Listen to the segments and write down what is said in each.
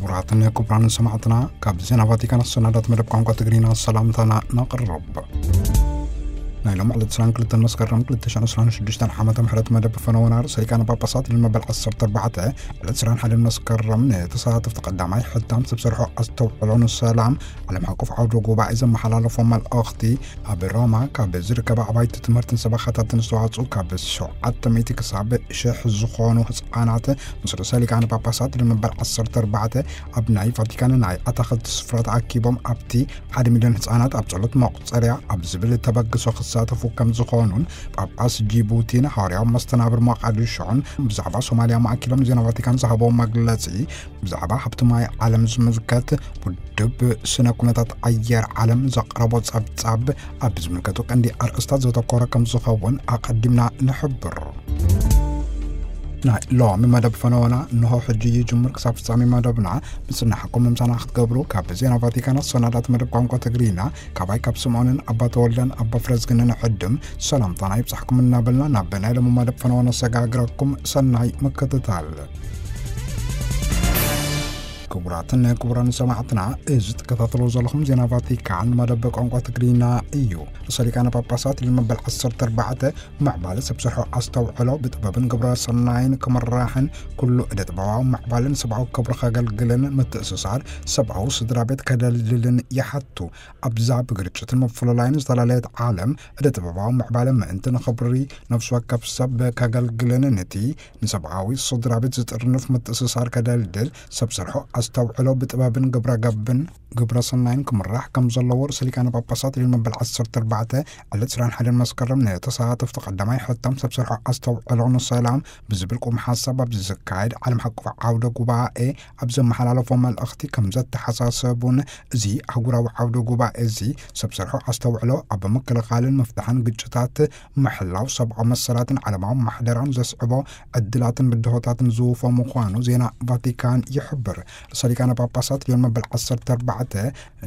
ክቡራትን ክቡራንን ሰማዕትና፣ ካብ ዜና ቫቲካን ኣሰናዳት መደብ ቋንቋ ትግርኛ ሰላምታና ነቕርብ። ናይ ሎም ዕለት ዕስራን ክልተን መስከረም ክልተ ሽሕን ዕስራን ሽዱሽተን ዓመተ ምሕረት መደብ ፈነወና ርእሰ ሊቃነ ጳጳሳት ልመበል ዓሰርተ ኣርባዕተ ዕለት ዕስራን ሓደን መስከረም ንተሳተፍቲ ቀዳማይ ሕታም ሰብ ሰርሖ ኣስተውዕሎ ንሰላም ዓለም ሓቆፍ ዓውደ ጉባኤ ዘመሓላለፎ መልእኽቲ፣ ኣብ ሮማ ካብ ዝርከባ ኣባይቲ ትምህርትን ሰበኻታትን ዝተዋፅኡ ካብ ሸውዓተ ሚእቲ ክሳብ ሽሕ ዝኾኑ ህፃናት ምስ ርእሰ ሊቃነ ጳጳሳት ልመበል ዓሰርተ ኣርባዕተ ኣብ ናይ ቫቲካን ናይ ኣታኽልቲ ስፍራ ተኣኪቦም ኣብቲ ሓደ ሚልዮን ህፃናት ኣብ ጸሎት መቑጸርያ ኣብ ዝብል ተበግሶ ክሳተፉ ከም ዝኾኑን ጳጳስ ጂቡቲን ሃዋርያዊ መስተናብር ሞቃዲሾን ብዛዕባ ሶማልያ ማእኪሎም ዜና ቫቲካን ዝሃበዎ መግለጺ፣ ብዛዕባ ሃብቲ ማይ ዓለም ዝምልከት ውድብ ስነ ኩነታት ኣየር ዓለም ዘቕረቦ ጸብጻብ ኣብ ዝምልከቱ ቀንዲ ኣርእስታት ዘተኮረ ከም ዝኸውን ኣቐዲምና ንሕብር። ናይ ሎሚ መደብ ፈነወና እንሆ ሕጂ ይጅምር። ክሳብ ፍጻሜ መደብና ምጽናሕኩም ምምሳና ክትገብሩ ካብ ዜና ቫቲካን ኣሰናዳት መደብ ቋንቋ ትግርኛ ካባይ ካብ ስምዖንን ኣባ ተወልደን ኣባ ፍረዝግንን ዕድም ሰላምታና ይብጻሕኩም እናበልና ናብ ናይ ሎሚ መደብ ፈነወ ነሰጋግረኩም። ሰናይ ምክትታል። ክቡራትን ክቡራን ሰማዕትና፣ እዚ ትከታተሉ ዘለኹም ዜና ቫቲካን መደብ ቋንቋ ትግርኛ እዩ። ርእሰ ሊቃነ ጳጳሳት ልመበል ዓሰርተ ኣርባዕተ ምዕባለ ሰብ ስርሖ ኣስተውዕሎ ብጥበብን ግብረ ሰናይን ክምራሕን ኩሉ እደ ጥበባዊ ምዕባለን ሰብኣዊ ክብሪ ከገልግልን ምትእስሳር ሰብኣዊ ስድራ ቤት ከደልድልን ይሓቱ። ኣብዛ ብግርጭትን ምፍልላይን ዝተላለየት ዓለም እደ ጥበባዊ ምዕባለ ምእንቲ ንኽብሪ ነፍሲ ወከፍ ሰብ ከገልግልን ነቲ ንሰብኣዊ ስድራ ቤት ዝጥርንፍ ምትእስሳር ከደልድል ሰብ ስርሖ ኣስተውዕሎ ብጥበብን ግብረ ገብን ግብረ ሰናይን ክምራሕ ከም ዘለዎ ርእሰ ሊቃነ ጳጳሳት ልዮን መበል ዓሰርተ ኣርባዕተ ዕለት ዕስራን ሓደን መስከረም ንተሳተፍቲ ቀዳማይ ሕታም ሰብ ስርሖ ኣስተውዕሎ ንሰላም ብዝብል ቁም ሓሳብ ኣብዚ ዝካየድ ዓለም ሓቆፍ ዓውደ ጉባኤ ኣብ ዘመሓላለፎ መልእኽቲ ከም ዘተሓሳሰቡን፣ እዚ ኣህጉራዊ ዓውደ ጉባኤ እዚ ሰብ ስርሖ ኣስተውዕሎ ኣብ ምክልኻልን ምፍታሕን ግጭታት፣ ምሕላው ሰብኣዊ መሰላትን ዓለማዊ ማሕደራን ዘስዕቦ ዕድላትን ብድሆታትን ዝውፎ ምዃኑ ዜና ቫቲካን ይሕብር። ርእሰ ሊቃነ ጳጳሳት ልዮን መበል ዓሰርተ ኣርባዕተ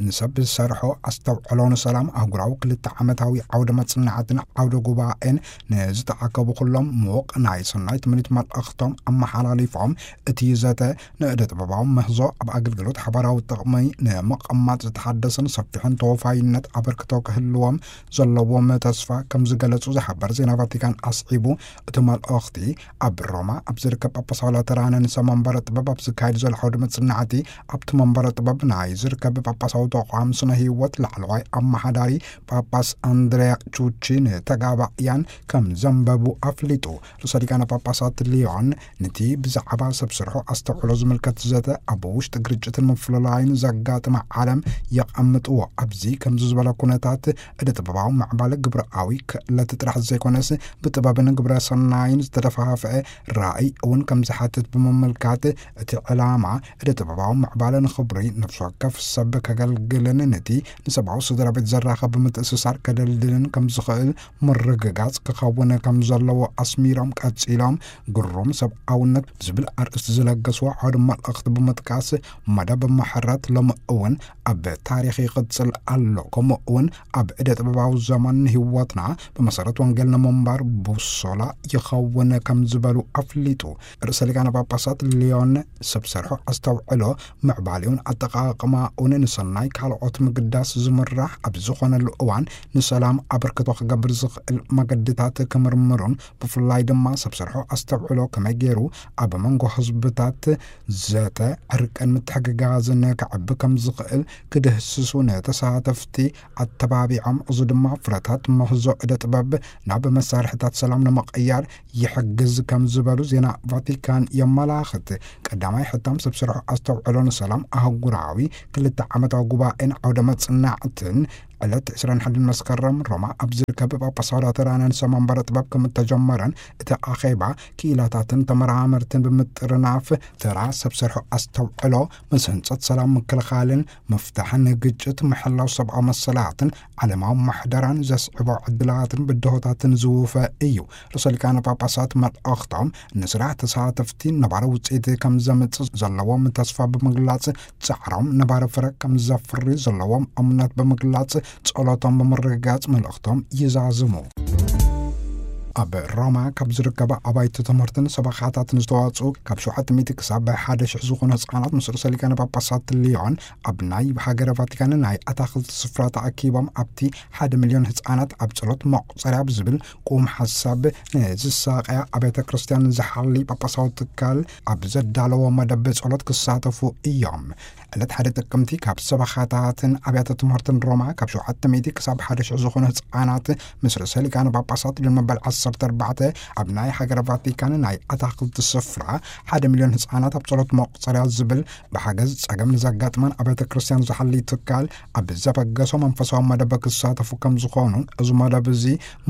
ንሰብ ዝሰርሖ ኣስተውዕሎ ንሰላም ኣህጉራዊ ክልተ ዓመታዊ ዓውደ መጽናዕትን ዓውደ ጉባኤን ንዝተኣከቡ ኩሎም ምዉቕ ናይ ሰናይ ትምኒት መልእኽቶም ኣመሓላሊፎም፣ እቲ ዘተ ንእደ ጥበባዊ ምህዞ ኣብ ኣገልግሎት ሓባራዊ ጥቕሚ ንምቕማጥ ዝተሓደሰን ሰፊሕን ተወፋይነት ኣበርክቶ ክህልዎም ዘለዎም ተስፋ ከም ዝገለጹ ዝሓበር ዜና ቫቲካን ኣስዒቡ፣ እቲ መልእኽቲ ኣብ ሮማ ኣብ ዝርከብ ጳጳሳዊ ላተራን ንሰ መንበረ ጥበብ ኣብ ዝካየድ ዘሎ ዓውደ መጽናዕቲ፣ ኣብቲ መንበረ ጥበብ ናይ ዝርከብ ጳጳሳዊ ተቋም ስነ ህይወት ላዕለዋይ ኣመሓዳሪ ጳጳስ ኣንድሪያ ቹቺ ንተጋባእያን ከም ዘንበቡ ኣፍሊጡ። ርእሰ ሊቃነ ጳጳሳት ሊዮን ነቲ ብዛዕባ ሰብ ስርሖ ኣስተውዕሎ ዝምልከት ዘተ ኣብ ውሽጢ ግርጭትን ምፍልላይን ዘጋጥማ ዓለም የቐምጥዎ። ኣብዚ ከምዚ ዝበለ ኩነታት እደ ጥበባዊ ምዕባለ ግብራዊ ክእለት ጥራሕ ዘይኮነስ ብጥበብን ግብረ ሰናይን ዝተደፋፍአ ራእይ እውን ከም ዝሓትት ብምምልካት፣ እቲ ዕላማ እደ ጥበባዊ ምዕባለ ንኽብሪ ነፍሲ ወከፍ ሰብ ከገልግልን ነቲ ንሰብኣዊ ስድራ ቤት ዘራኸብ ምትእስሳር ከደልድልን ከም ዝኽእል ምርግጋጽ ክኸውን ከም ዘለዎ ኣስሚሮም ቀጺሎም፣ ግሩም ሰብኣውነት ዝብል ኣርእስቲ ዝለገስዎ ዓውደ መልእኽቲ ብምጥቃስ፣ መደብ ምሕረት ሎሚ እውን ኣብ ታሪኽ ይቕጽል ኣሎ፣ ከምኡ እውን ኣብ እደ ጥበባዊ ዘመን ህይወትና ብመሰረት ወንጌል ንምንባር ቡሶላ ይኸውን ከም ዝበሉ ኣፍሊጡ። ርእሰ ሊቃነ ጳጳሳት ሊዮን ሰብ ሰርሖ ኣስተውዕሎ ምዕባሌውን ኣጠቓቕማኡን ንሰናይ ካልኦት ምግዳስ ዝምራሕ ኣብ ዝኾነሉ እዋን፣ ንሰላም ኣበርክቶ ክገብር ዝኽእል መገድታት ክምርምሩን ብፍላይ ድማ ሰብ ሰርሖ ኣስተውዕሎ ከመይ ገይሩ ኣብ መንጎ ህዝብታት ዘተ ዕርቅን ምትሕግጋዝን ከዕቢ ከም ዝኽእል ክድህስሱ ንተሳተፍቲ ኣተባቢዖም፣ እዚ ድማ ፍረታት ምህዞ እደ ጥበብ ናብ መሳርሕታት ሰላም ንምቕያር ይሕግዝ ከም ዝበሉ ዜና ቫቲካን የመላኽት። ቀዳማይ ሕታም ሰብ ስርሖ ኣስተውዕሎ ንሰላም ኣህጉራዊ ክልተ ዓመታዊ ጉባኤን ዓውደ መጽናዕትን ዕለት ዕስራን ሓደን መስከረም ሮማ ኣብ ዝርከብ ጳጳሳዊ ላተራንን ሰማንበረ ጥበብ ከም እተጀመረን፣ እቲ ኣኼባ ክኢላታትን ተመራመርትን ብምጥርናፍ ተራ ሰብ ሰርሖ ኣስተውዕሎ ምስ ህንጸት ሰላም ምክልኻልን ምፍታሕን ግጭት ምሕላው ሰብኣዊ መሰላትን ዓለማዊ ማሕደራን ዘስዕቦ ዕድላትን ብድሆታትን ዝውፈ እዩ። ርእሰ ሊቃነ ጳጳሳት መልእኽቶም ንስራሕ ተሳተፍቲ ነባሪ ውጽኢት ከም ዘምጽእ ዘለዎም ተስፋ ብምግላጽ፣ ጻዕሮም ነባሪ ፍረ ከም ዘፍሪ ዘለዎም እምነት ብምግላጽ፣ ጸሎቶም ብምርግጋጽ መልእኽቶም ይዛዝሙ። ኣብ ሮማ ካብ ዝርከባ ኣባይቲ ትምህርትን ሰበኻታትን ዝተዋፅኡ ካብ ሸውዓተ ሚእቲ ክሳብ ሓደ ሽሕ ዝኾኑ ህፃናት ምስ ርእሰ ሊቃነ ጳጳሳት ሊዮን ኣብ ናይ ሃገረ ቫቲካን ናይ ኣታኽልቲ ስፍራ ተኣኪቦም ኣብቲ ሓደ ሚልዮን ህፃናት ኣብ ጸሎት መቑጸርያ ብዝብል ቁም ሓሳብ ንዝሳቐያ ኣብያተ ክርስቲያን ዝሓሊ ጳጳሳዊ ትካል ኣብ ዘዳለዎ መደብ ጸሎት ክሳተፉ እዮም። ዕለት ሓደ ጥቅምቲ ካብ ሰበኻታትን ኣብያተ ትምህርትን ሮማ ካብ ሸውዓተ ሚእቲ ክሳብ ሓደ ሽሕ ዝኾኑ ህፃናት ምስ ርእሰ ሊቃነ ጳጳሳት ሊዮን መበል ዓሰርተ ኣርባዕተ ኣብ ናይ ሃገረ ቫቲካን ናይ ኣታኽልቲ ስፍራ ሓደ ሚልዮን ህፃናት ኣብ ጸሎት መቑጸርያ ዝብል ብሓገዝ ጸገም ንዘጋጥመን ኣብያተ ክርስቲያን ዝሓሊ ትካል ኣብ ዘበገሶ መንፈሳዊ መደብ ክሳተፉ ከም ዝኾኑ፣ እዚ መደብ እዚ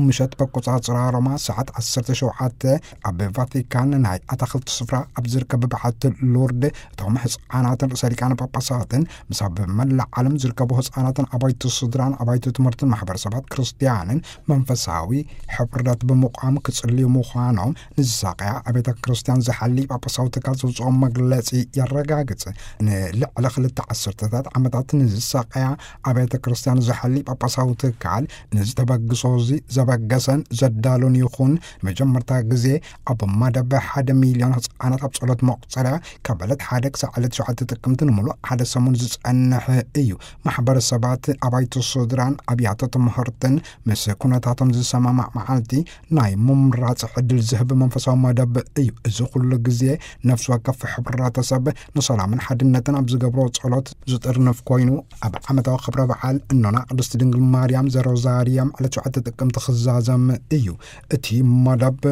ምሸት በቆጻጽራ ሮማ ሰዓት ዓሰርተ ሸውዓተ ኣብ ቫቲካን ናይ ኣታኽልቲ ስፍራ ኣብ ዝርከብ በዓቲ ሉርድ እቶም ህፃናትን ርእሰ ሊቃነ ጳጳሳትን ምስ ኣብ መላእ ዓለም ዝርከቡ ህፃናትን ኣባይቲ ስድራን ኣባይቲ ትምህርትን ማሕበረሰባት ክርስቲያንን መንፈሳዊ ሕብረት ብምቋም ክጽልዩ ምዃኖም ንዝሳቀያ ኣብያተ ክርስቲያን ዝሓሊ ጳጳሳዊ ትካል ዘውፅኦ መግለጺ የረጋግጽ። ንልዕሊ ክልተ ዓሰርተታት ዓመታት ንዝሳቀያ ኣብያተ ክርስቲያን ዝሓሊ ጳጳሳዊ ትካል ንዝተበግሶ እዚ ዘበገሰን ዘዳሉን ይኹን መጀመርታ ግዜ ኣብ መደብ ሓደ ሚልዮን ህፃናት ኣብ ጸሎት መቑጸርያ ካብ ዕለት ሓደ ክሳብ ዕለት ሸውዓተ ጥቅምቲ ንምሉእ ሓደ ሰሙን ዝጸንሕ እዩ። ማሕበረሰባት ኣባይቲ ስድራን ኣብያተ ትምህርትን ምስ ኩነታቶም ዝሰማማዕ መዓልቲ ናይ ምምራጽ ዕድል ዝህብ መንፈሳዊ መደብ እዩ። እዚ ኩሉ ግዜ ነፍሲ ወከፍ ሕብረተሰብ ንሰላምን ሓድነትን ኣብ ዝገብሮ ጸሎት ዝጥርንፍ ኮይኑ፣ ኣብ ዓመታዊ ክብረ በዓል እኖና ቅድስቲ ድንግል ማርያም ዘሮዛርየም ዕለት ሸውዓተ ጥቅምቲ ክዛዘም እዩ። እቲ መደብ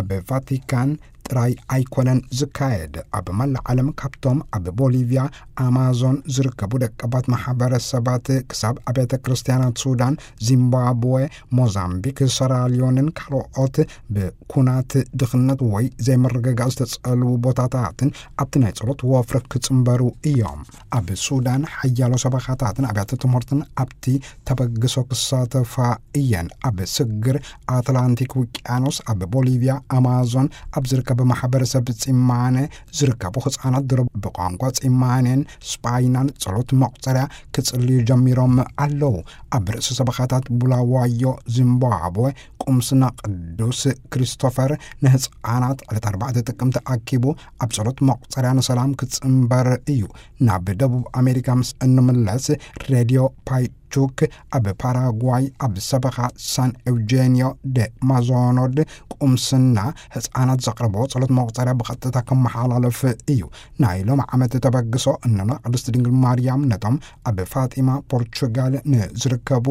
ኣብ ቫቲካን ጥራይ ኣይኮነን ዝካየድ። ኣብ መላእ ዓለም ካብቶም ኣብ ቦሊቪያ፣ ኣማዞን ዝርከቡ ደቀባት ማሕበረሰባት ክሳብ ኣብያተ ክርስቲያናት ሱዳን፣ ዚምባብወ፣ ሞዛምቢክ፣ ሰራልዮንን ካልኦት ብኩናት ድኽነት ወይ ዘይምርግጋእ ዝተጸልዉ ቦታታትን ኣብቲ ናይ ጸሎት ወፍሪ ክጽንበሩ እዮም። ኣብ ሱዳን ሓያሎ ሰበኻታትን ኣብያተ ትምህርትን ኣብቲ ተበግሶ ክሳተፋ እየን። ኣብ ስግር ኣትላንቲክ ውቅያኖስ ኣብ ቦሊቪያ ኣማዞን ኣብ ዝርከብ ማሕበረሰብ ጺማነ ዝርከቡ ህጻናት ድሮ ብቋንቋ ጺማኔን ስጳይናን ጸሎት መቑጸርያ ክጽልዩ ጀሚሮም ኣለዉ። ኣብ ርእሲ ሰበኻታት ቡላዋዮ ዚምባብወ ቁምስና ቅዱስ ክሪስቶፈር ንህጻናት ዕለት ኣርባዕተ ጥቅምቲ ኣኪቡ ኣብ ጸሎት መቑጸርያ ንሰላም ክጽንበር እዩ። ናብ ደቡብ ኣሜሪካ ምስ እንምለስ ሬድዮ ፓይቹክ ኣብ ፓራጓይ ኣብ ሰበኻ ሳን ኤውጄኒዮ ደ ማዞኖድ ቁምስና ህጻናት ዘቕረቦ ጸሎት መቑጸርያ ብቐጥታ ከመሓላለፍ እዩ። ናይ ሎም ዓመት ተበግሶ እኖና ቅድስቲ ድንግል ማርያም ነቶም ኣብ ፋጢማ ፖርቹጋል ንዝርከቡ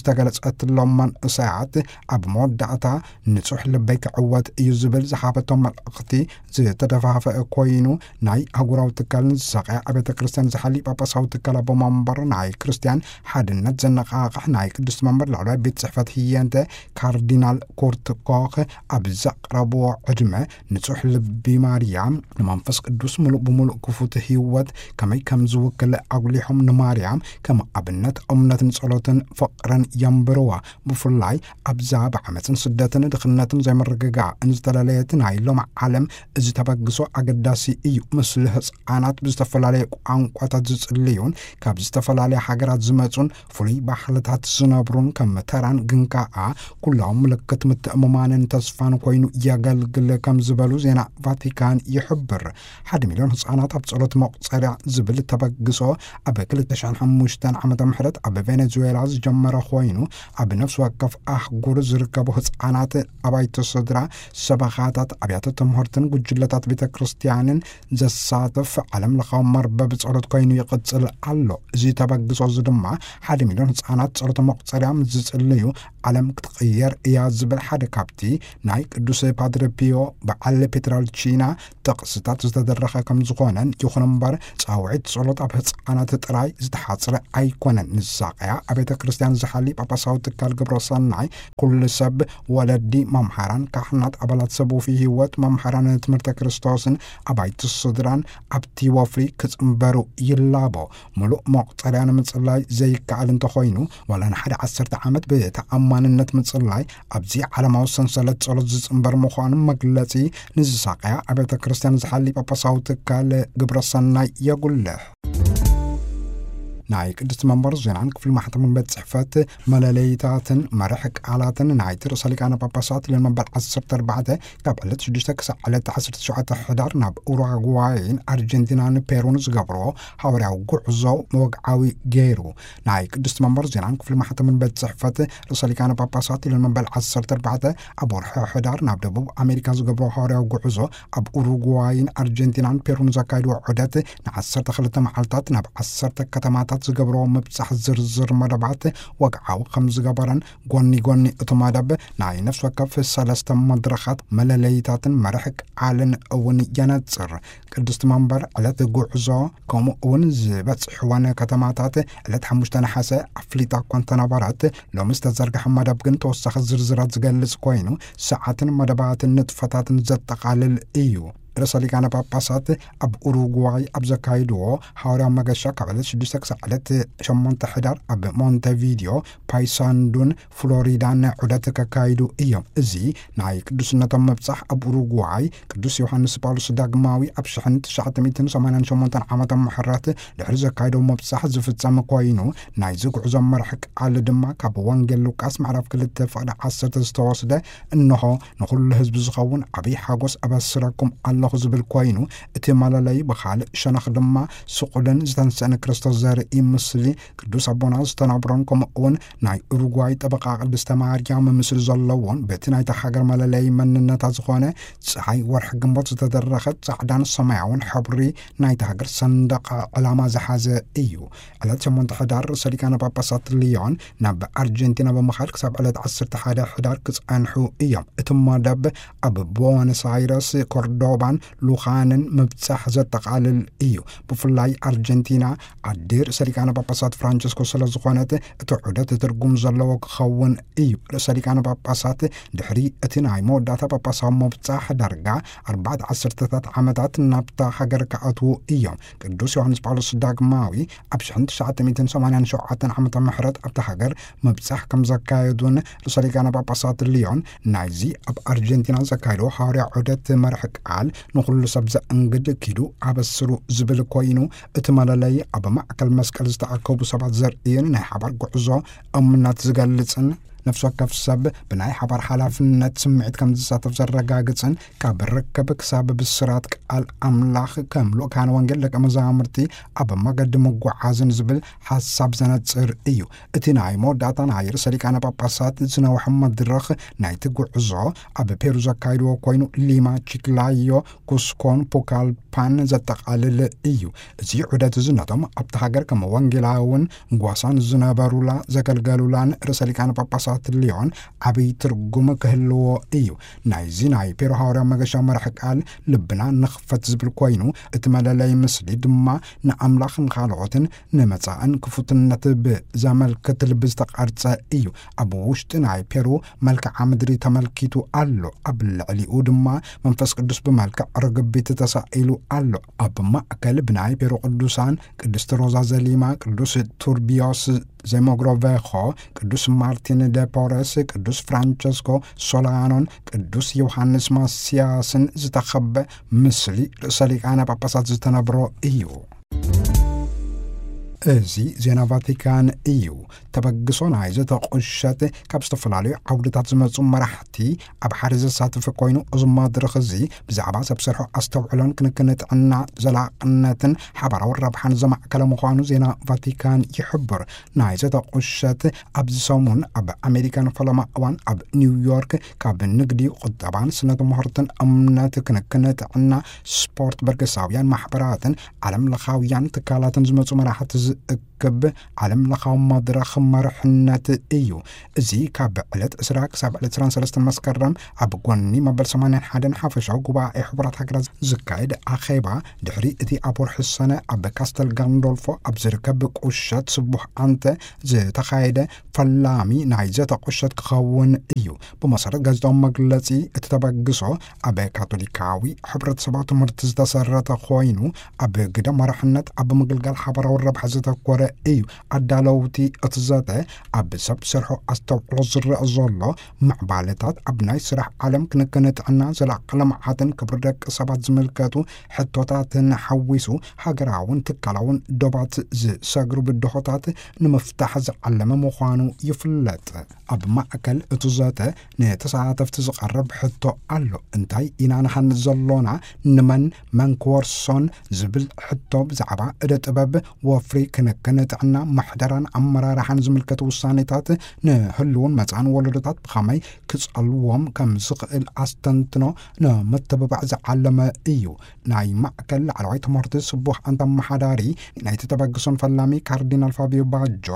ንዝተገለጸትሎም መንእሰያት ኣብ መወዳእታ ንጹሕ ልበይ ክዕወት እዩ ዝብል ዝሃበቶም መልእኽቲ ዝተደፋፈአ ኮይኑ፣ ናይ ኣህጉራዊ ትካል ንዝሳቐያ ኣብያተ ክርስቲያን ዝሓሊ ጳጳሳዊ ትካል ኣቦ መንበር ናይ ክርስቲያን ሓድነት ዘነቓቕሕ ናይ ቅድስቲ መንበር ላዕለዋይ ቤት ጽሕፈት ህየንተ ካርዲናል ኩርት ኮኽ ኣብ ዘቕረብዎ ዕድመ ንጹሕ ልቢ ማርያም ንመንፈስ ቅዱስ ምሉእ ብምሉእ ክፉት ህይወት ከመይ ከም ዝውክል ኣጉሊሖም ንማርያም ከም ኣብነት እምነትን ጸሎትን ፍቕርን የንብርዋ። ብፍላይ ኣብዛ ብዓመፅን ስደትን ድኽነትን ዘይምርግጋእን ዝተለለየት ናይ ሎም ዓለም እዚ ተበግሶ ኣገዳሲ እዩ። ምስሉ ህፃናት ብዝተፈላለየ ቋንቋታት ዝፅልዩን ካብ ዝተፈላለያ ሃገራት ዝመፁን ፍሉይ ባህልታት ዝነብሩን ከም ተራን ግን ከዓ ኩላዊ ምልክት ምትእምማንን ተስፋን ኮይኑ የገልግል ከም ዝበሉ ዜና ቫቲካን ይሕብር። ሓደ ሚልዮን ህፃናት ኣብ ጸሎት መቑጸርያ ዝብል ተበግሶ ኣብ ክልተ ሽሕን ሓሙሽተን ዓመተ ምህረት ኣብ ቬኔዙዌላ ዝጀመረ ኮይኑ፣ ኣብ ነፍሲ ወከፍ ኣህጉር ዝርከቡ ህፃናት ኣባይቲ ስድራ፣ ሰበኻታት፣ ኣብያተ ትምህርትን ጉጅለታት ቤተ ክርስቲያንን ዘሳትፍ ዓለም ለኻዊ መርበብ ጸሎት ኮይኑ ይቕጽል ኣሎ። እዚ ተበግሶ እዚ ድማ ሓደ ሚልዮን ህፃናት ጸሎት መቑጸርያ ምስ ዝጽልዩ ዓለም ክትቕየር እያ ዝብል ሓደ ካብቲ ናይ ቅዱስ ፓድረ ፒዮ በዓል ፔትራልቺና ጥቕስታት ዝተደረኸ ከም ዝኾነን፣ ይኹን እምበር ጻውዒት ጸሎት ኣብ ህፃናት ጥራይ ዝተሓጽረ ኣይኮነን። ንሳቀያ ኣብ ቤተ ክርስቲያን ዝሓሊ ጳጳሳዊ ትካል ግብረ ሰናይ ኩሉ ሰብ፣ ወለዲ፣ መምሃራን፣ ካህናት፣ ኣባላት ሰብ ውፉይ ህይወት፣ መምሃራን ትምህርተ ክርስቶስን ኣባይቲ ስድራን ኣብቲ ወፍሪ ክጽንበሩ ይላቦ። ምሉእ መቑጸርያ ንምጽላይ ዘይከኣል እንተኾይኑ፣ ዋላ ንሓደ ዓሰርተ ዓመት ብተኣማንነት ምጽላይ ኣብዚ ዓለማዊ ሰንሰለት ጸሎት ዝጽንበር ምዃኑ መግለጺ ንዝሳቀያ ኣብያተ ክርስቲያን ዝሓሊ ጳጳሳዊ ትካል ግብረ ሰናይ የጉልሕ። ናይ ቅድስቲ መንበር ዜናን ክፍሊ ማሕተምን ቤት ጽሕፈት መለለይታትን መርሕ ቃላትን ናይቲ ርእሰ ሊቃነ ጳጳሳት ልዮን መበል ዓሰርተ ኣርባዕተ ካብ ዕለት ሽዱሽተ ክሳብ ዕለት ዓሰርተ ትሽዓተ ሕዳር ናብ ኡራጓይን ኣርጀንቲናን ፔሩን ዝገብሮ ሃዋርያዊ ጉዕዞ መወግዓዊ ገይሩ። ናይ ቅድስቲ መንበር ዜናን ክፍሊ ማሕተምን ቤት ጽሕፈት ርእሰ ሊቃነ ጳጳሳት ልዮን መበል ዓሰርተ ኣርባዕተ ኣብ ወርሒ ሕዳር ናብ ደቡብ ኣሜሪካ ዝገብሮ ሃዋርያዊ ጉዕዞ ኣብ ኡሩጓይን ኣርጀንቲናን ፔሩን ዘካይድዎ ዑደት ንዓሰርተ ክልተ መዓልታት ናብ ዓሰርተ ከተማታት ዝገብሮ ምብጻሕ ዝርዝር መደባት ወግዓዊ ከም ዝገበረን፣ ጎኒ ጎኒ እቲ መደብ ናይ ነፍሲ ወከፍ ሰለስተ መድረኻት መለለይታትን መርሕ ቃልን እውን የነጽር። ቅድስቲ መንበር ዕለት ጉዕዞ ከምኡ እውን ዝበጽሕወን ከተማታት ዕለት ሓሙሽተ ነሓሰ ኣፍሊጣ እኳ እንተነበረት፣ ሎሚ ዝተዘርግሐ መደብ ግን ተወሳኺ ዝርዝራት ዝገልጽ ኮይኑ፣ ሰዓትን መደባትን ንጥፈታትን ዘጠቓልል እዩ። ርእሰ ሊቃነ ጳጳሳት ኣብ ኡሩጓይ ኣብ ዘካይድዎ ሃዋርያዊ መገሻ ካብ ዕለት ሽዱሽተ ክሳብ ዕለት ሸሞንተ ሕዳር ኣብ ሞንቴቪዲዮ፣ ፓይሳንዱን ፍሎሪዳን ዑደት ከካይዱ እዮም። እዚ ናይ ቅዱስነቶም ምብጻሕ ኣብ ኡሩጓይ ቅዱስ ዮሃንስ ጳውሎስ ዳግማዊ ኣብ ሽሕን ትሽዓተ ሚእትን ሰማንያን ሸሞንተን ዓመተ ምሕረት ድሕሪ ዘካይዶ ምብጻሕ ዝፍጸም ኮይኑ፣ ናይዚ ጉዕዞ መርሒ ቃል ድማ ካብ ወንጌል ሉቃስ ምዕራፍ ክልተ ፍቕዲ ዓሰርተ ዝተወስደ፣ እንሆ ንኹሉ ህዝቢ ዝኸውን ዓብዪ ሓጎስ ኣበስረኩም ኣለኹ ዝብል ኮይኑ፣ እቲ መለለዪ ብኻልእ ሸነኽ ድማ ስቑልን ዝተንስአን ክርስቶስ ዘርኢ ምስሊ ቅዱስ ኣቦና ዝተነብሮን፣ ከምኡ እውን ናይ ኡሩጓይ ጠበቃ ቅድስተ ማርያም ምስሊ ዘለዎን፣ በቲ ናይታ ሃገር መለለዪ መንነታ ዝኾነ ጸሓይ ወርሒ ግንቦት ዝተደረኸ ጻዕዳን ሰማያውን ሕብሪ ናይታ ሃገር ሰንደቕ ዕላማ ዝሓዘ እዩ። ዕለት ሸሞንተ ሕዳር ርእሰ ሊቃነ ጳጳሳት ልዮን ናብ ኣርጀንቲና ብምኻድ ክሳብ ዕለት ዓሰርተ ሓደ ሕዳር ክጸንሑ እዮም። እቲ መደብ ኣብ ቦነስ ኣይረስ፣ ኮርዶባን ሉኻንን ምብጻሕ ዘጠቓልል እዩ። ብፍላይ ኣርጀንቲና ዓዲ ርእሰ ሊቃነ ጳጳሳት ፍራንቸስኮ ስለ ዝኾነት፣ እቲ ዑደት ትርጉም ዘለዎ ክኸውን እዩ። ርእሰ ሊቃነ ጳጳሳት ድሕሪ እቲ ናይ መወዳእታ ጳጳሳዊ ምብጻሕ ዳርጋ ኣርባዕተ ዓሰርተታት ዓመታት ናብታ ሃገር ክኣትዉ እዮም። ቅዱስ ዮሃንስ ጳውሎስ ዳግማዊ ኣብ ሽሕን ትሽዓተ ሚእትን ሰማንያን ሸውዓተን ዓመተ ምሕረት ኣብታ ሃገር ምብጻሕ ከም ዘካየዱን ርእሰ ሊቃነ ጳጳሳት ልዮን ናይዚ ኣብ ኣርጀንቲና ዘካየድዎ ሃዋርያ ዑደት መርሒ ቃል ንኹሉ ሰብ ዘእንግድ ኪዱ ኣበስሩ ዝብል ኮይኑ፣ እቲ መለለዪ ኣብ ማእከል መስቀል ዝተኣከቡ ሰባት ዘርእን ናይ ሓባር ጉዕዞ እምነት ዝገልጽን፣ ነፍሲ ወከፍ ሰብ ብናይ ሓባር ሓላፍነት ስምዒት ከም ዝሳተፍ ዘረጋግጽን፣ ካብ ርክብ ክሳብ ብስራት ቃል ኣምላኽ ከም ልኡካን ወንጌል ደቀ መዛሙርቲ ኣብ መገዲ ምጉዓዝን ዝብል ሓሳብ ዘነጽር እዩ። እቲ ናይ መወዳእታ ናይ ርእሰ ሊቃነ ጳጳሳት ዝነውሐ መድረኽ ናይቲ ጉዕዞ ኣብ ፔሩ ዘካይድዎ ኮይኑ፣ ሊማ፣ ቺክላዮ፣ ኩስኮን ፑካልፓን ዘጠቓልል እዩ። እዚ ዑደት እዚ ነቶም ኣብቲ ሃገር ከም ወንጌላውን ጓሳን ዝነበሩላ ዘገልገሉላን ርእሰ ሊቃነ ጳጳሳት ልዮን ዓብዪ ትርጉም ክህልዎ እዩ። ናይዚ ናይ ፔሩ ሃዋርያ መገሻ መራሒ ቃል ልብና ንኽፈት ዝብል ኮይኑ፣ እቲ መለለይ ምስሊ ድማ ንኣምላኽ ንኻልኦትን ንመጻእን ክፉትነት ብዘመልክት ልቢ ዝተቐርጸ እዩ። ኣብ ውሽጢ ናይ ፔሩ መልክዓ ምድሪ ተመልኪቱ ኣሎ። ኣብ ልዕሊኡ ድማ መንፈስ ቅዱስ ብመልክዕ ርግቢት ተሳኢሉ ኣሎ። ኣብ ማእከል ብናይ ፔሩ ቅዱሳን ቅድስቲ ሮዛ ዘሊማ፣ ቅዱስ ቱርቢዮስ ዘሞግሮቬኾ፣ ቅዱስ ማርቲን ደ ፖረስ፣ ቅዱስ ፍራንቸስኮ ሶላኖን ቅዱስ ዮሃንስ ማስያስን ዝተኸበ ምስሊ ርእሰ ሊቃነ ጳጳሳት ዝተነብሮ እዩ። እዚ ዜና ቫቲካን እዩ። ተበግሶ ናይ ዘተ ቁሸት ካብ ዝተፈላለዩ ዓውድታት ዝመጹ መራሕቲ ኣብ ሓደ ዘሳትፍ ኮይኑ፣ እዚ መድረኽ እዚ ብዛዕባ ሰብ ሰርሖ ኣስተውዕሎን ክንክን ጥዕና ዘላቕነትን ሓባራዊ ረብሓን ዘማእከለ ምዃኑ ዜና ቫቲካን ይሕብር። ናይ ዘተ ቁሸት ኣብዚ ሰሙን ኣብ ኣሜሪካን ፈለማ እዋን ኣብ ኒውዮርክ ካብ ንግዲ፣ ቁጠባን ስነ ትምህርትን እምነት፣ ክንክን ጥዕና፣ ስፖርት፣ በርገሳውያን ማሕበራትን ዓለም ለኻውያን ትካላትን ዝመጹ መራሕቲ ዝእክብ ዓለም ለኻዊ መድረኽ መርሕነት እዩ። እዚ ካብ ዕለት ዕስራ ክሳብ ዕለት ዕስራን ሰለስተን መስከረም ኣብ ጎኒ መበል ሰማንያን ሓደን ሓፈሻዊ ጉባኤ ሕቡራት ሃገራት ዝካየድ ኣኼባ፣ ድሕሪ እቲ ኣብ ወርሒ ሰነ ኣብ ካስተል ጋንዶልፎ ኣብ ዝርከብ ቁሸት ስቡሕ ኣንተ ዝተኻየደ ፈላሚ ናይ ዘተ ቁሸት ክኸውን እዩ። ብመሰረት ጋዜጣዊ መግለጺ፣ እቲ ተበግሶ ኣብ ካቶሊካዊ ሕብረተሰባዊ ትምህርቲ ዝተሰረተ ኮይኑ፣ ኣብ ግደ መራሕነት ኣብ ምግልጋል ሓባራዊ ረብሓ ዘተኮረ እዩ። ኣዳለውቲ እቲ ዘተ ኣብ ሰብ ሰርሖ ኣስተውዕሎ ዝረአ ዘሎ ምዕባለታት፣ ኣብ ናይ ስራሕ ዓለም ክንክን ጥዕና፣ ዘላቂ ልምዓትን ክብሪ ደቂ ሰባት ዝምልከቱ ሕቶታትን ሓዊሱ፣ ሃገራውን ትካላውን ዶባት ዝሰግሩ ብድሆታት ንምፍታሕ ዝዓለመ ምዃኑ ይፍለጥ። ኣብ ማእከል እቲ ዘተ ንተሳተፍቲ ዝቐርብ ሕቶ ኣሎ። እንታይ ኢና ንሃንጽ ዘሎና? ንመን፣ መን ክወርሶን? ዝብል ሕቶ ብዛዕባ እደ ጥበብ፣ ወፍሪ፣ ክንክን ጥዕና፣ ምሕደራን ኣመራርሓን ዝምልከቱ ውሳኔታት ንህልውን መጻእን ወለዶታት ብኸመይ ክጸልዎም ከም ዝኽእል ኣስተንትኖ ንምትብባዕ ዝዓለመ እዩ። ናይ ማእከል ላዕለዋይ ትምህርቲ ስቡሕ ኣንታ ኣመሓዳሪ ናይቲ ተበግሶን ፈላሚ ካርዲናል ፋቢዮ ባጆ፣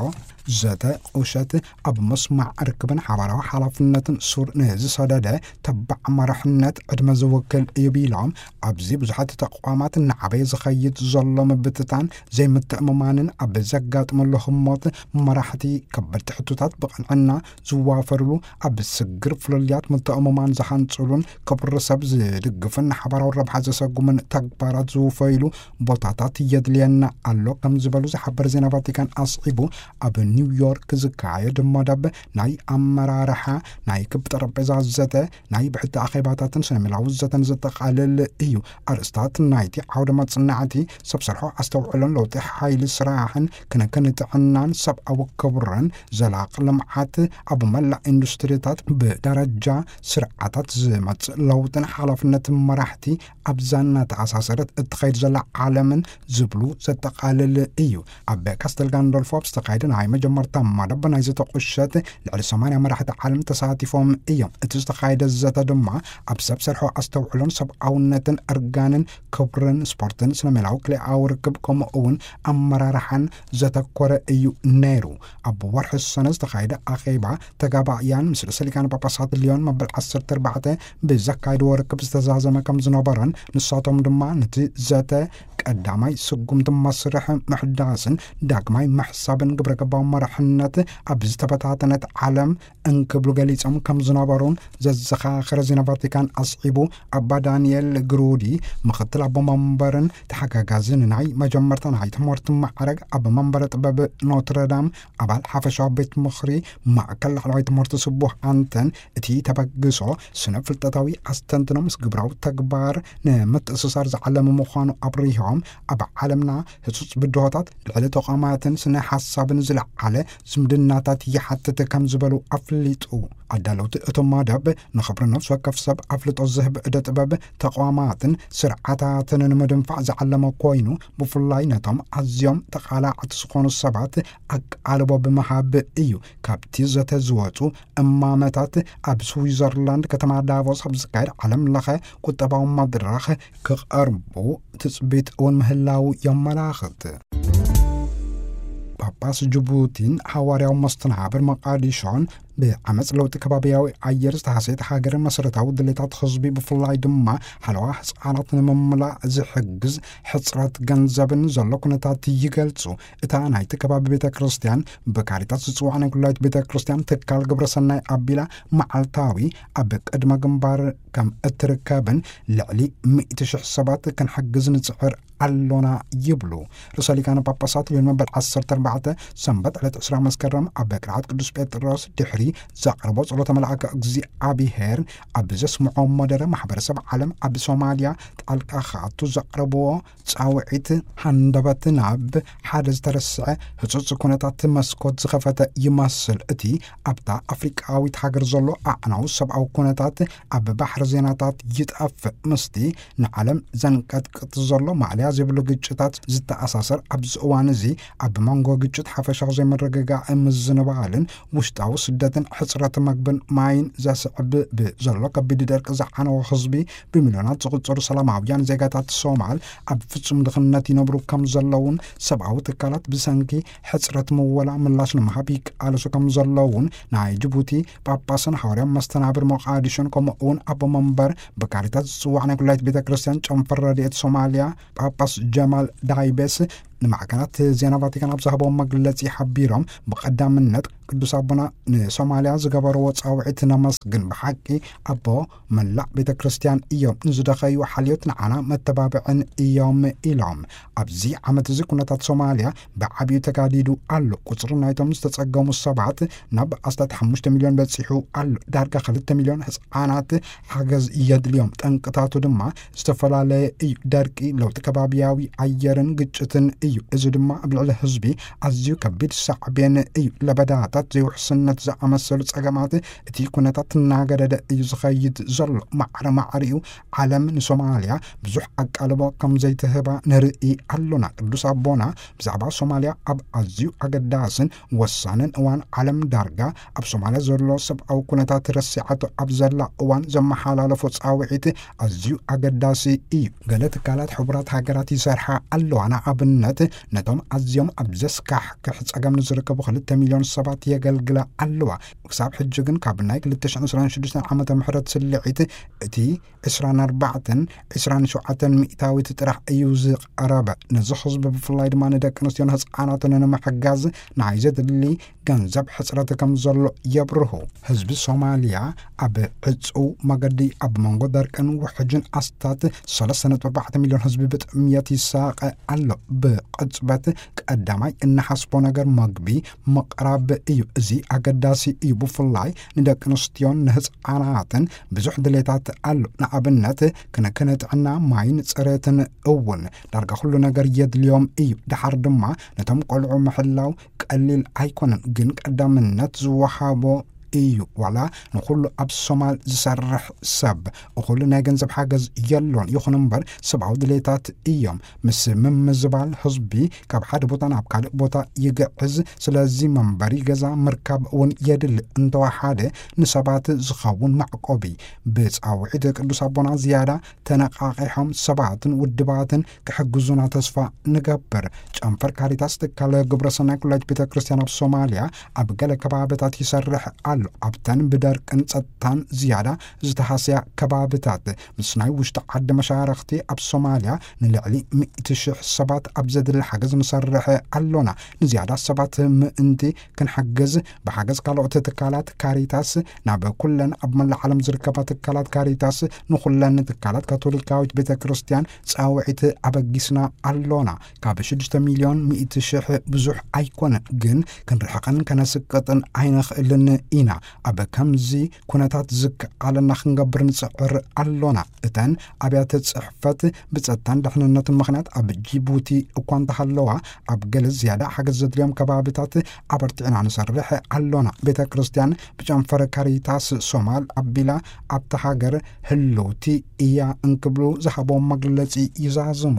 ዘተ ቁሸት ኣብ ምስማዕ ርክብን ሓባራዊ ሓላፍነትን ሱር ንዝሰደደ ተባዕ መራሕነት ዕድመ ዝውክል እዩ ቢሎም፣ ኣብዚ ብዙሓት ተቋማት እናዓበየ ዝኸይድ ዘሎ ምብትታን ዘይምትእምማንን ኣብ ዘጋጥመሉ ህሞት፣ መራሕቲ ከበድቲ ሕቶታት ብቕንዕና ዝዋፈርሉ፣ ኣብ ስግር ፍልልያት ምትእምማን ዝሃንጽሉን ክብሪ ሰብ ዝድግፍን ንሓባራዊ ረብሓ ዘሰጉምን ተግባራት ዝውፈይሉ ቦታታት የድልየና ኣሎ ከም ዝበሉ ዝሓበር ዜና ቫቲካን ኣስዒቡ፣ ኣብ ኒውዮርክ ዝካየድ መደብ ናይ ኣመራርሓ፣ ናይ ክብ ጠረጴዛ ዘተ፣ ናይ ብሕቲ ኣኼባታትን ሰሜላዊ ዘተን ዘጠቓልል እዩ። ኣርእስታት ናይቲ ዓውደ መጽናዕቲ፣ ሰብ ሰርሖ ኣስተውዕሎን ለውጢ ሓይሊ ስራሕን፣ ክንክን ጥዕናን ሰብኣዊ ክብርን፣ ዘላቂ ልምዓት፣ ኣብ መላእ ኢንዱስትሪታት ብደረጃ ስርዓታት ዝመጽእ ለውጥን ሓላፍነትን መራሕቲ ኣብዛ እናተኣሳሰረት እትኸይድ ዘላ ዓለምን ዝብሉ ዘጠቓልል እዩ። ኣብ ካስተል ጋንዶልፎ ኣብ ዝተኻየደ ናይ መጀመርታ መደብ ናይ ዘተ ቁሸት፣ ልዕሊ ሰማንያ መራሕቲ ዓለም ተሳቲፎም እዮም። እቲ ዝተኻየደ ዘተ ድማ ኣብ ሰብ ሰርሖ ኣስተውዕሎን ሰብኣውነትን፣ እርጋንን ክብርን፣ ስፖርትን፣ ስነ ሜላዊ ክልኤኣዊ ርክብ፣ ከምኡ እውን ኣመራርሓን ዘተኮረ እዩ ነይሩ። ኣብ ወርሒ ሰነ ዝተኻየደ ኣኼባ፣ ተጋባእያን ምስ ርእሰ ሊቃነ ጳጳሳት ሊዮን መበል ዓሰርተ ኣርባዕተ ብዘካየድዎ ርክብ ዝተዛዘመ ከም ዝነበረን፣ ንሳቶም ድማ ነቲ ዘተ ቀዳማይ ስጉምቲ መስርሕ ምሕዳስን ዳግማይ ምሕሳብን ግብረ ገባዊ መራሕነት ኣብ ዝተበታተነት ዓለም እንክብሉ ገሊጾም ከም ዝነበሩን ዘዘኻኸረ ዜና ቫቲካን ኣስዒቡ፣ ኣባ ዳንኤል ግሩዲ፣ ምኽትል ኣቦ መንበርን ተሓጋጋዝን ናይ መጀመርታ ናይ ትምህርቲ ማዕረግ ኣብ መንበረ ጥበብ ኖትረዳም ኣባል ሓፈሻዊ ቤት ምኽሪ ማእከል ላዕለዋይ ትምህርቲ ስቡሕ ኣንተን፣ እቲ ተበግሶ ስነ ፍልጠታዊ ኣስተንትኖ ምስ ግብራዊ ተግባር ንምትእስሳር ዝዓለመ ምዃኑ ኣብሪሆም፣ ኣብ ዓለምና ህጹጽ ብድሆታት ልዕሊ ተቋማትን ስነ ሓሳብን ዝለዓለ ዝምድናታት ይሓትት ከም ዝበሉ ኣፍሊጡ። ኣዳለውቲ እቶም መደብ ንኽብሪ ነፍሲ ወከፍ ሰብ ኣፍልጦ ዝህብ እደ ጥበብ፣ ተቋማትን ስርዓታትን ንምድንፋዕ ዝዓለመ ኮይኑ፣ ብፍላይ ነቶም ኣዝዮም ተቓላዕቲ ዝኾኑ ሰባት ኣቃልቦ ብምሃብ እዩ። ካብቲ ዘተ ዝወጹ እማመታት፣ ኣብ ስዊዘርላንድ ከተማ ዳቮስ ኣብ ዝካየድ ዓለም ለኸ ቁጠባዊ መድረኽ ክቐርቡ ትጽቢት እውን ምህላዉ የመላኽት። ጳጳስ ጅቡቲን ሃዋርያዊ መስተናብር መቃዲሾን ብዓመጽ ለውጢ ከባብያዊ ኣየር ዝተሃሰየት ሃገርን መሰረታዊ ድሌታት ህዝቢ፣ ብፍላይ ድማ ሓለዋ ህጻናት ንምምላእ ዝሕግዝ ሕጽረት ገንዘብን ዘሎ ኩነታት ይገልጹ። እታ ናይቲ ከባቢ ቤተ ክርስቲያን፣ ብካሪታስ ዝጽዋዕ ናይ ኩላዊት ቤተ ክርስቲያን ትካል ግብረ ሰናይ ኣቢላ፣ መዓልታዊ ኣብ ቅድመ ግንባር ከም እትርከብን ልዕሊ ሚእቲ ሽሕ ሰባት ክንሕግዝ ንጽዕር ኣሎና ይብሉ። ርእሰ ሊቃነ ጳጳሳት ልዮን መበል ዓሰርተ ኣርባዕተ ሰንበት ዕለት ዕስራ መስከረም ኣብ ቅርዓት ቅዱስ ጴጥሮስ ድሕሪ ዘቕርቦ ጸሎተ መልኣከ እግዚኣብሔር ኣብ ዘስምዖ መደረ፣ ማሕበረሰብ ዓለም ኣብ ሶማልያ ጣልቃ ክኣቱ ዘቕረብዎ ጻውዒት ሃንደበት ናብ ሓደ ዝተረስዐ ህጹጽ ኩነታት መስኮት ዝኸፈተ ይመስል። እቲ ኣብታ ኣፍሪቃዊት ሃገር ዘሎ ኣዕናዊ ሰብኣዊ ኩነታት ኣብ ባሕሪ ዜናታት ይጠፍእ። ምስቲ ንዓለም ዘንቀጥቅጥ ዘሎ ማዕለያ ዘይብሉ ግጭታት ዝተኣሳሰር፣ ኣብዚ እዋን እዚ ኣብ መንጎ ግጭት፣ ሓፈሻዊ ዘይምርግጋእ፣ ምዝንባልን ውሽጣዊ ስደትን፣ ሕጽረት መግብን ማይን ዘስዕብ ብዘሎ ከቢድ ደርቂ ዝዓነወ ህዝቢ፣ ብሚልዮናት ዝቑጸሩ ሰላማውያን ዜጋታት ሶማል ኣብ ፍጹም ድኽነት ይነብሩ ከም ዘለውን፣ ሰብኣዊ ትካላት ብሰንኪ ሕጽረት ምወላ ምላሽ ንምሃብ ይቃለሱ ከም ዘለውን ናይ ጅቡቲ ጳጳስን ሃዋርያዊ መስተናብር ሞቃዲሾን፣ ከምኡ እውን ኣቦ መንበር ብካሪታስ ዝጽዋዕ ናይ ኩላይት ቤተ ክርስቲያን ጨንፈር ረድኤት ሶማልያ ጳጳስ ጀማል ዳይቤስ ንማዕከናት ዜና ቫቲካን ኣብ ዝሃቦም መግለጺ ሓቢሮም፣ ብቐዳምነት ቅዱስ ኣቦና ንሶማልያ ዝገበርዎ ጻውዒት ነመስግን። ብሓቂ ኣቦ መላእ ቤተ ክርስቲያን እዮም። ንዝደኸዩ ሓልዮት ንዓና መተባብዕን እዮም ኢሎም። ኣብዚ ዓመት እዚ ኩነታት ሶማልያ ብዓብዩ ተጋዲዱ ኣሎ። ቁጽሪ ናይቶም ዝተጸገሙ ሰባት ናብ ኣስታት ሓሙሽተ ሚልዮን በጺሑ ኣሎ። ዳርጋ ክልተ ሚልዮን ህጻናት ሓገዝ የድልዮም። ጠንቅታቱ ድማ ዝተፈላለየ እዩ። ደርቂ፣ ለውጢ ከባቢያዊ ኣየርን ግጭትን እዩ። እዚ ድማ ኣብ ልዕሊ ህዝቢ ኣዝዩ ከቢድ ሳዕቤን እዩ። ለበዳታት፣ ዘይውሕስነት ዝኣመሰሉ ጸገማት፣ እቲ ኩነታት እናገደደ እዩ ዝኸይድ ዘሎ። ማዕረ ማዕሪኡ ዓለም ንሶማልያ ብዙሕ ኣቃልቦ ከም ዘይትህባ ንርኢ ኣሎና። ቅዱስ ኣቦና ብዛዕባ ሶማልያ ኣብ ኣዝዩ ኣገዳስን ወሳንን እዋን ዓለም ዳርጋ ኣብ ሶማልያ ዘሎ ሰብኣዊ ኩነታት ረሲዓቶ ኣብ ዘላ እዋን ዘመሓላለፎ ጻውዒት ኣዝዩ ኣገዳሲ እዩ። ገለ ትካላት ሕቡራት ሃገራት ይሰርሓ ኣለዋ። ንኣብነት ነቶም ኣዝዮም ኣብ ዘስካሕክሕ ጸገም ንዝርከቡ ክልተ ሚልዮን ሰባት የገልግላ ኣለዋ። ክሳብ ሕጂ ግን ካብ ናይ ክልተ ሽሕን ዕስራን ሽዱሽተን ዓመተ ምሕረት ስልዒት እቲ ዕስራን ኣርባዕተን ዕስራን ሸውዓተን ሚእታዊት ጥራሕ እዩ ዝቐረበ። ነዚ ህዝቢ ብፍላይ ድማ ንደቂ ኣንስትዮን ህፃናትን ንምሕጋዝ ናይ ዘድሊ ገንዘብ ሕፅረት ከም ዘሎ የብርሁ። ህዝቢ ሶማልያ ኣብ ዕፁው መገዲ ኣብ መንጎ ደርቅን ውሕጅን ኣስታት ሰለስተ ነጥቢ ኣርባዕተ ሚልዮን ህዝቢ ብጥምየት ይሳቐ ኣሎ። ብቕጽበት ቀዳማይ እንሓስቦ ነገር መግቢ ምቕራብ እዩ። እዚ ኣገዳሲ እዩ። ብፍላይ ንደቂ ኣንስትዮን ንህፃናትን ብዙሕ ድሌታት ኣሎ። ንኣብነት ክንክን ጥዕና፣ ማይን ፅሬትን እውን ዳርጋ ኩሉ ነገር የድልዮም እዩ። ድሓር ድማ ነቶም ቆልዑ ምሕላው ቀሊል ኣይኮነን፣ ግን ቀዳምነት ዝወሃቦ እዩ። ዋላ ንኹሉ ኣብ ሶማል ዝሰርሕ ሰብ እኹል ናይ ገንዘብ ሓገዝ የሎን፣ ይኹን እምበር ሰብኣዊ ድሌታት እዮም። ምስ ምምዝባል ህዝቢ ካብ ሓደ ቦታ ናብ ካልእ ቦታ ይግዕዝ። ስለዚ መንበሪ ገዛ ምርካብ እውን የድሊ። እንተወሓደ ንሰባት ዝኸውን መዕቆቢ። ብጻውዒት ቅዱስ ኣቦና ዝያዳ ተነቓቒሖም ሰባትን ውድባትን ክሕግዙና ተስፋ ንገብር። ጨንፈር ካሪታስ ትካል ግብረሰናይ ኩላይት ቤተ ክርስቲያን ኣብ ሶማልያ ኣብ ገለ ከባብታት ይሰርሕ ኣሎ። ኣብተን ብደርቅን ጸጥታን ዝያዳ ዝተሃስያ ከባብታት ምስ ናይ ውሽጢ ዓዲ መሻርኽቲ ኣብ ሶማልያ ንልዕሊ ሚእቲ ሽሕ ሰባት ኣብ ዘድሊ ሓገዝ ንሰርሕ ኣሎና። ንዝያዳ ሰባት ምእንቲ ክንሕግዝ ብሓገዝ ካልኦት ትካላት ካሪታስ ናብ ኩለን ኣብ መላእ ዓለም ዝርከባ ትካላት ካሪታስ ንኹለን ትካላት ካቶሊካዊት ቤተ ክርስቲያን ጻውዒት ኣበጊስና ኣሎና። ካብ ሽዱሽተ ሚልዮን ሚእቲ ሽሕ ብዙሕ ኣይኮነን፣ ግን ክንርሕቐን ከነስቅጥን ኣይንኽእልን ኢና። ኣብ ከምዚ ኩነታት ዝከኣለና ክንገብር ንጽዕር ኣሎና። እተን ኣብያተ ጽሕፈት ብጸጥታን ድሕንነትን ምኽንያት ኣብ ጂቡቲ እኳ እንተሃለዋ፣ ኣብ ገለ ዝያዳ ሓገዝ ዘድልዮም ከባብታት ኣበርቲዕና ንሰርሕ ኣሎና። ቤተ ክርስቲያን ብጨንፈር ካሪታስ ሶማል ኣቢላ ኣብታ ሃገር ህልውቲ እያ እንክብሉ ዝሃቦም መግለጺ ይዛዝሙ።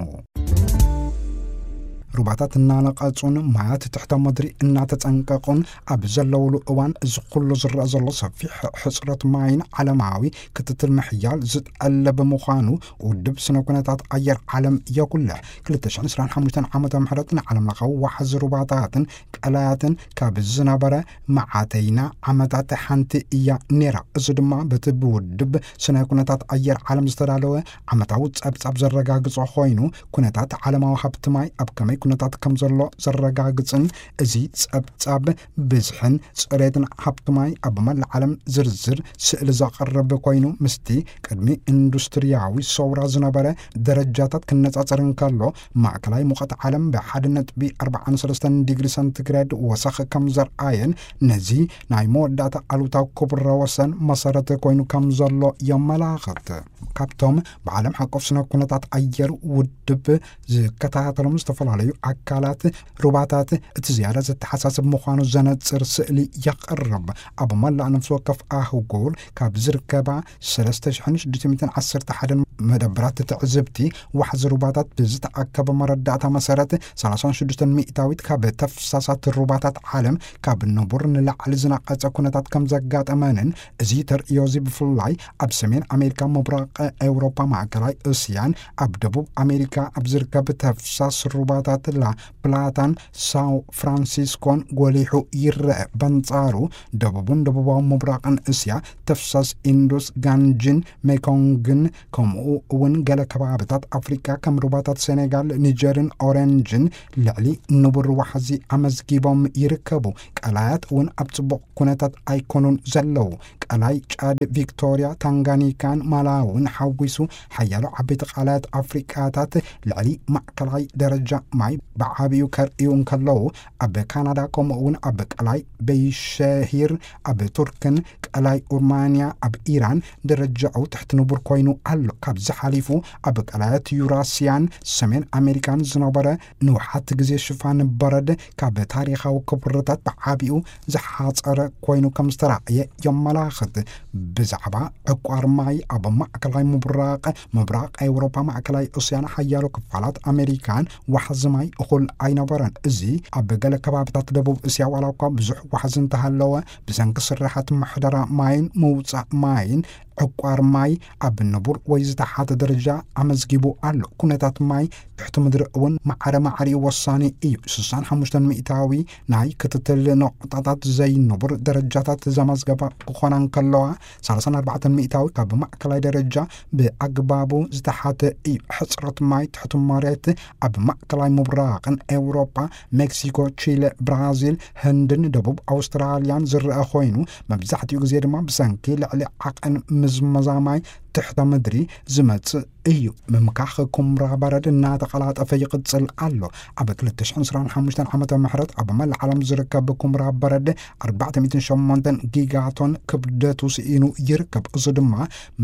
ሩባታት እናነቐጹን ማያት ትሕተ ምድሪ እናተጸንቀቑን ኣብ ዘለውሉ እዋን፣ እዚ ኩሉ ዝረአ ዘሎ ሰፊሕ ሕጽረት ማይን ዓለማዊ ክትትል ምሕያል ዝጠልብ ምዃኑ ውድብ ስነ ኩነታት ኣየር ዓለም የጉልሕ። ክልተ ሽሕን ዕስራን ሓሙሽተን ዓመተ ምህረት ንዓለም ለኻዊ ዋሕዚ ሩባታትን ቀላያትን ካብ ዝነበረ መዓተይና ዓመታት ሓንቲ እያ ነይራ። እዚ ድማ በቲ ብውድብ ስነ ኩነታት ኣየር ዓለም ዝተዳለወ ዓመታዊ ጸብጻብ ዘረጋግጾ ኮይኑ፣ ኩነታት ዓለማዊ ሃብቲ ማይ ኣብ ከመይ ኩነታት ከም ዘሎ ዘረጋግጽን፣ እዚ ጸብጻብ ብዝሕን ጽሬትን ሃብቲ ማይ ኣብ መላእ ዓለም ዝርዝር ስእሊ ዘቕርብ ኮይኑ፣ ምስቲ ቅድሚ ኢንዱስትርያዊ ሰውራ ዝነበረ ደረጃታት ክነጻጸር እንከሎ፣ ማእከላይ ሙቐት ዓለም ብ ሓደ ነጥቢ ኣርባዓን ሰለስተን ዲግሪ ሰንቲግሬድ ወሰኽ ከም ዘርኣየን፣ ነዚ ናይ መወዳእታ ኣሉታዊ ክብረ ወሰን መሰረት ኮይኑ ከም ዘሎ የመላኽት። ካብቶም ብዓለም ሓቆፍ ስነ ኩነታት ኣየር ውድብ ዝከታተሎም ዝተፈላለዩ ኣካላት፣ ሩባታት እቲ ዝያዳ ዘተሓሳስብ ምዃኑ ዘነጽር ስእሊ የቕርብ። ኣብ መላእ ነፍሲ ወከፍ ኣህጉር ካብ ዝርከባ ሰለስተ ሽሕን ሽዱሽተ ሚእትን ዓሰርተ ሓደን መደብራት ትዕዝብቲ ዋሕዚ ሩባታት ብዝተኣከበ መረዳእታ መሰረት፣ ሰላሳን ሽዱሽተን ሚእታዊት ካብ ተፍሳሳት ሩባታት ዓለም ካብ ንቡር ንላዕሊ ዝነቐጸ ኩነታት ከም ዘጋጠመንን፣ እዚ ተርእዮ እዚ ብፍላይ ኣብ ሰሜን ኣሜሪካ፣ ምብራቕ ኤውሮፓ፣ ማእከላይ እስያን ኣብ ደቡብ ኣሜሪካ ኣብ ዝርከብ ተፍሳስ ሩባታት ላ ፕላታን ሳው ፍራንሲስኮን ጎሊሑ ይረአ። በንጻሩ፣ ደቡብን ደቡባዊ ምብራቕን እስያ ተፍሳስ ኢንዱስ፣ ጋንጅን ሜኮንግን፣ ከምኡ እውን ገለ ከባብታት ኣፍሪቃ ከም ሩባታት ሴኔጋል፣ ኒጀርን ኦሬንጅን ልዕሊ ንቡር ዋሕዚ ኣመዝጊቦም ይርከቡ። ቀላያት እውን ኣብ ጽቡቕ ኩነታት ኣይኮኑን ዘለዉ። ቀላይ ጫድ፣ ቪክቶሪያ፣ ታንጋኒካን ማላውን ሓዊሱ ሓያሎ ዓበይቲ ቀላያት ኣፍሪቃታት ልዕሊ ማእከላይ ደረጃ ማይ ብዓቢኡ ከርእዩ እንከለዉ፣ ኣብ ካናዳ ከምኡ እውን ኣብ ቀላይ በይሸሂር ኣብ ቱርክን ቀላይ ኡርማንያ ኣብ ኢራን ደረጃኡ ትሕቲ ንቡር ኮይኑ ኣሎ። ካብዚ ሓሊፉ ኣብ ቀላያት ዩራስያን ሰሜን ኣሜሪካን ዝነበረ ንውሓት ግዜ ሽፋን በረድ ካብ ታሪኻዊ ክብርታት ብዓቢኡ ዝሓጸረ ኮይኑ ከም ዝተራእየ የመላኽት። ብዛዕባ ዕቋር ማይ ኣብ ማእከላይ ምብራቕ፣ ምብራቕ ኤውሮፓ፣ ማእከላይ እስያን ሓያሎ ክፋላት ኣሜሪካን ዋሕዚ ማይ እኹል ኣይነበረን። እዚ ኣብ ገለ ከባብታት ደቡብ እስያ ዋላ እኳ ብዙሕ ዋሕዚ እንተሃለወ፣ ብሰንኪ ስራሓት ምሕደራ ማይን ምውጻእ ማይን ዕቋር ማይ ኣብ ንቡር ወይ ዝተሓተ ደረጃ ኣመዝጊቡ ኣሎ። ኩነታት ማይ ትሕቲ ምድሪ እውን ማዕረ ማዕሪኡ ወሳኒ እዩ። ስሳን ሓሙሽተን ሚእታዊ ናይ ክትትል ነቑጣታት ዘይንቡር ደረጃታት ዘመዝገባ ክኾና እንከለዋ፣ ሰላሳን ኣርባዕተን ሚእታዊ ካብ ማእከላይ ደረጃ ብኣግባቡ ዝተሓተ እዩ። ሕጽረት ማይ ትሕቲ መሬት ኣብ ማእከላይ ምብራቕን ኤውሮጳ፣ ሜክሲኮ፣ ቺለ፣ ብራዚል፣ ህንድን ደቡብ ኣውስትራልያን ዝረአ ኮይኑ፣ መብዛሕትኡ ግዜ ድማ ብሰንኪ ልዕሊ ዓቐን ምዝመዛ ማይ ትሕተ ምድሪ ዝመጽእ እዩ። ምምካኽ ኩምራ በረድ እናተቐላጠፈ ይቕጽል ኣሎ። ኣብ ክልተ ሽሕን ዕስራን ሓሙሽተን ዓመተ ምሕረት ኣብ መላእ ዓለም ዝርከብ ኩምራ በረድ ኣርባዕተ ሚእትን ሸሞንተን ጊጋቶን ክብደቱ ስኢኑ ይርከብ። እዚ ድማ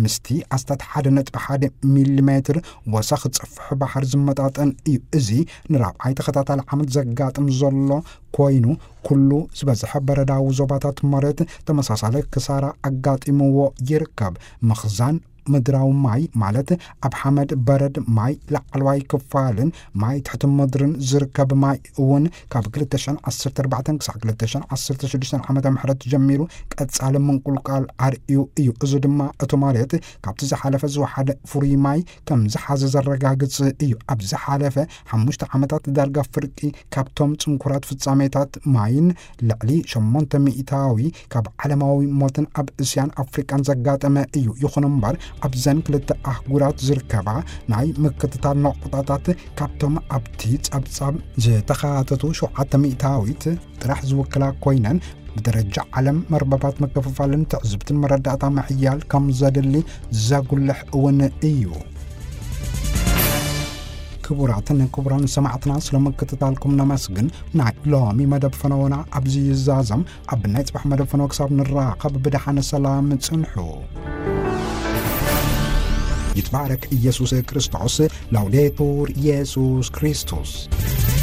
ምስቲ ኣስታት ሓደ ነጥቢ ሓደ ሚሊሜትር ወሰኽ ጽፍሒ ባሕሪ ዝመጣጠን እዩ። እዚ ንራብዓይ ተኸታታሊ ዓመት ዘጋጥም ዘሎ ኮይኑ፣ ኩሉ ዝበዝሐ በረዳዊ ዞባታት መሬት ተመሳሳሊ ክሳራ ኣጋጢምዎ ይርከብ። ምኽዛን ምድራዊ ማይ፣ ማለት ኣብ ሓመድ በረድ ማይ ላዕለዋይ ክፋልን ማይ ትሕቲ ምድርን ዝርከብ ማይ እውን፣ ካብ ክልተ ሽሕን ዓሰርተ ኣርባዕተን ክሳብ ክልተ ሽሕን ዓሰርተ ሽዱሽተን ዓመተ ምሕረት ጀሚሩ ቀጻሊ ምንቁልቃል ኣርእዩ እዩ። እዚ ድማ እቲ መሬት ካብቲ ዝሓለፈ ዝወሓደ ፍሩይ ማይ ከም ዝሓዘ ዘረጋግጽ እዩ። ኣብ ዝሓለፈ ሓሙሽተ ዓመታት ዳርጋ ፍርቂ ካብቶም ጽንኩራት ፍጻሜታት ማይን ልዕሊ ሸሞንተ ሚእታዊ ካብ ዓለማዊ ሞትን ኣብ እስያን ኣፍሪቃን ዘጋጠመ እዩ። ይኹን እምበር፣ ኣብዘን ክልተ ኣህጉራት ዝርከባ ናይ ምክትታል ነቑጣታት ካብቶም ኣብቲ ጸብጻብ ዝተኻተቱ ሸውዓተ ሚእታዊት ጥራሕ ዝውክላ ኮይነን፣ ብደረጃ ዓለም መርበባት ምክፍፋልን ትዕዝብትን መረዳእታ ምሕያል ከም ዘድሊ ዘጉልሕ እውን እዩ። ክቡራትን ክቡራን ሰማዕትና፣ ስለ ምክትታልኩም ነመስግን። ናይ ሎሚ መደብ ፈነወና ኣብዚ ይዛዘም። ኣብ ናይ ጽባሕ መደብ ፈነወ ክሳብ ንራኸብ ብደሓነ ሰላም ጽንሑ። ይትባረክ ኢየሱስ ክርስቶስ። ላውዴቱር ኢየሱስ ክርስቶስ።